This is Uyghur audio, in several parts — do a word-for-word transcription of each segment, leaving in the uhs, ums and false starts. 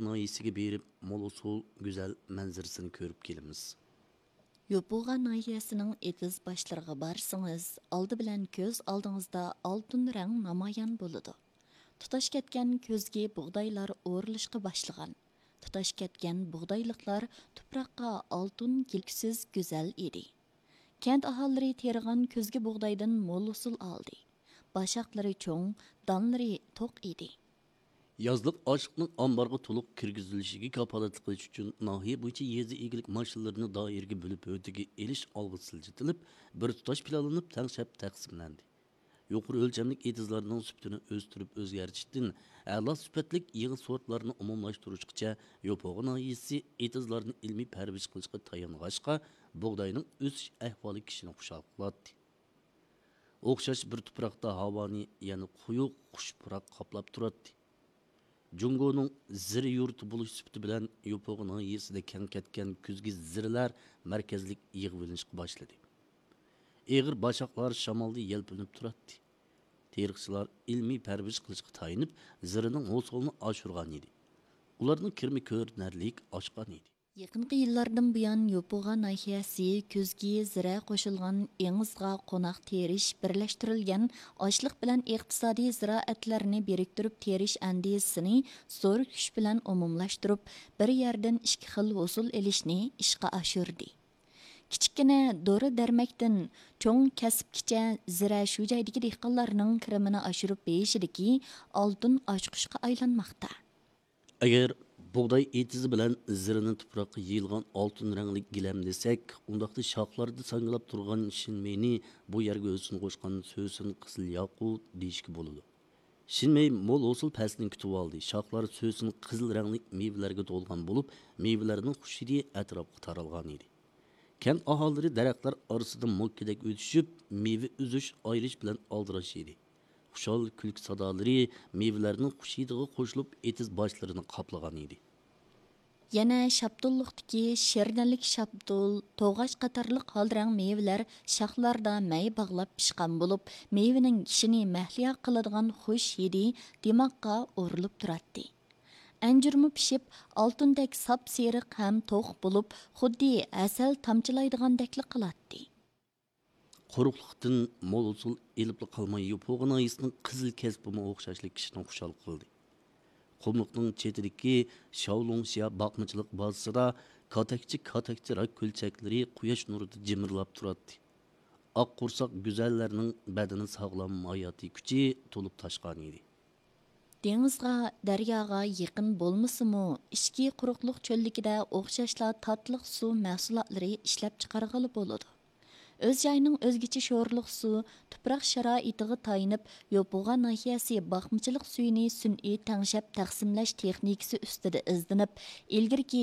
ناھىيەسىگە بېرىپ، مول ھوسۇل گۈزەل مەنزىرىسىنى كۆرۈپ كېلىمىز. يوپۇغا ناھىيەسىنىڭ ئېتىز باشلىرىغا بارسىڭىز، ئالدى بىلەن كۆز ئالدىڭىزدا ئالتۇن رەڭ نامايان بولىدۇ. تۇتاش كەتكەن كۈزگى بۇغدايلار ئورۇلۇشقا باشلىغان. تۇتاش كەتكەن بۇغدايلىقلار تۇپراققا ئالتۇن كېلكۈسىز گۈزەل ئىدى. كەنت ئاھالىلىرى تېرىغان كۈزگى بۇغدايدىن مول ھوسۇل ئالدى. باشاقلىرى چوڭ، دانلىرى توق ئىدى. يازلىق ئاشلىقنىڭ ئامبارغا تولۇق كىرگۈزۈلۈشىگە كاپالەتلىك قىلىش ئۈچۈن، ناھىيە بويىچە يېزا ئىگىلىك ماشىنىلىرىنى دائىرىگە بۆلۈپ ھۆددىگە ئېلىش ئالغا سىلجىتىلىپ، بىر تۇتاش پىلانلىنىپ تەڭشەپ تەقسىملەندى. يۇقىرى ئۆلچەملىك ئېتىزلارنىڭ سۈپىتىنى ئۆستۈرۈپ ئۆزگەرتىشتىن ئەلا سۈپەتلىك يېڭى سورتلارنى ئومۇملاشتۇرۇشقىچە، يوپۇغا ناھىيەسى ئېتىزلارنى ئىلمىي پەرۋىش قىلىشقا تايانغاچقا، بۇغداينىڭ ئۆسۈش ئەھۋالى كىشىنى خۇشال قىلاتتى. ئوخشاش بىر تۇپراقتا ھاۋانى يەنە قويۇق خۇش پۇراق قاپلاپ تۇراتتى. جۇڭگونىڭ زىرە يۇرتى بولۇش سۈپىتى بىلەن، يوپۇغا ناھىيەسىدە كەڭ كەتكەن كۈزگى زىرىلەر مەركەزلىك يىغىۋېلىنىشقا باشلىدى. ئېغىر باشاقلار شامالدا يەلپۈنۈپ تۇراتتى. تېرىقچىلار ئىلمىي پەرۋىش قىلىشقا تايىنىپ، زىرىنىڭ ھوسۇلىنى ئاشۇرغان ئىدى. ئۇلارنىڭ كىرىمى كۆرۈنەرلىك ئاشقان ئىدى. يېقىنقى يىللاردىن بۇيان، يوپۇغا ناھىيەسى كۈزگى زىرە قوشۇلغان ئېڭىزغا قوناق تېرىش، بىرلەشتۈرۈلگەن ئاشلىق بىلەن ئىقتىسادىي زىرائەتلەرنى بىرىكتۈرۈپ تېرىش ئەندىزىسىنى زور كۈچ بىلەن ئومۇملاشتۇرۇپ، بىر يەردىن ئىككى خىل ھوسۇل ئېلىشنى ئىشقا ئاشۇردى. كىچىككىنە دورا دەرمەكتىن چوڭ كەسىپكىچە زىرە شۇ جايدىكى دېھقانلارنىڭ كىرىمىنى ئاشۇرۇپ بېرىشىدىكى ئالتۇن ئاچقۇچقا ئايلانماقتا. ئەگەر بۇغداي ئېتىزى بىلەن زىرىنى تۇپراققا يېيىلغان ئالتۇن رەڭلىك گىلەم دېسەك، ئۇنداقتا شاخلاردا ساڭگىلاپ تۇرغان شىنمېينى بۇ يەرگە ھۆسن قوشقان سۆسۈن قىزىل ياقۇت دېيىشكە بولىدۇ. شىنمېي مول ھوسۇل پەسلىنى كۈتۈۋالدى. شاخلار سۆسۈن قىزىل رەڭلىك مېۋىلەرگە تولغان بولۇپ، مېۋىلەرنىڭ خۇش ھىدى ئەتراپقا تارالغان ئىدى. كەنت ئاھالىلىرى دەرەخلەر ئارىسىدا موككىدەك ئۆتۈشۈپ، مېۋە ئۈزۈش، ئايرىش بىلەن ئالدىراش ئىدى. خۇشال كۈلكە سادالىرى مېۋىلەرنىڭ خۇش ھىدىغا قوشۇلۇپ، ئېتىز باشلىرىنى قاپلىغان ئىدى. يەنە شاپتۇللۇقتىكى شىردەنلىك شاپتۇل، توغاچ قاتارلىق ھالرەڭ مېۋىلەر شاخلاردا مەي باغلاپ پىشقان بولۇپ، مېۋىنىڭ كىشىنى مەھلىيا قىلىدىغان خۇش ھىدى دىماغقا ئۇرۇلۇپ تۇراتتى. ئەنجۈرمۇ پىشىپ، ئالتۇندەك ساپسېرىق ھەم توق بولۇپ، خۇددى ھەسەل تامچىلايدىغاندەكلا قىلاتتى. قۇرۇقلۇقتىن مول ھوسۇل ئېلىپلا قالماي، يوپۇغا ناھىيەسىنىڭ قىزىل كەسپىمۇ ئوخشاشلا كىشىنى خۇشال قىلدى. قۇملۇقنىڭ چېتىدىكى شاۋلۇڭشيا باقمىچىلىق بازىسىدا كاتەكچە-كاتەكچە راك كۆلچەكلىرى قۇياش نۇرىدا جىمىرلاپ تۇراتتى. ئاق قورساق گۈزەللەرنىڭ بەدىنى ساغلام، ھاياتىي كۈچى تولۇپ تاشقان ئىدى. دېڭىزغا، دەرياغا يېقىن بولمىسىمۇ، ئىچكى قۇرۇقلۇق چۆللۈكىدە ئوخشاشلا تاتلىق سۇ مەھسۇلاتلىرى ئىشلەپچىقارغىلى بولىدۇ. ئۆز جايىنىڭ ئۆزگىچە شورلۇق سۇ، تۇپراق شارائىتىغا تايىنىپ، يوپۇغا ناھىيەسى باقمىچىلىق سۈيىنى سۈنئىي تەڭشەپ تەقسىملەش تېخنىكىسى ئۈستىدە ئىزدىنىپ، ئىلگىرىكى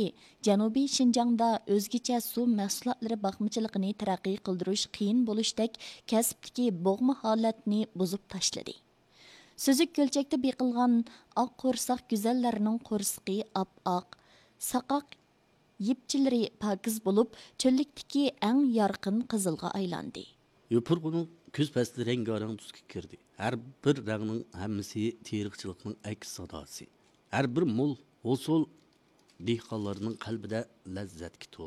جەنۇبىي شىنجاڭدا ئۆزگىچە سۇ مەھسۇلاتلىرى باقمىچىلىقىنى تەرەققىي قىلدۇرۇش قىيىن بولۇشتەك كەسىپتىكى بوغما ھالەتنى بۇزۇپ تاشلىدى. سۈزۈك كۆلچەكتە بېقىلغان ئاق قورساق گۈزەللەرنىڭ قورسىقى ئاپئاق، ساقاق يىپچىلىرى پاكىز بولۇپ، چۆللۈكتىكى ئەڭ يارقىن قىزىلغا ئايلاندى. يوپۇرغىنىڭ كۈز پەسلى رەڭگارەڭ تۈسكە كىردى. ھەر بىر رەڭنىڭ ھەممىسى تېرىقچىلىقنىڭ ئەكس ساداسى. ھەر بىر مول ھوسۇل دېھقانلارنىڭ قەلبىدە لەززەتكە تولدى.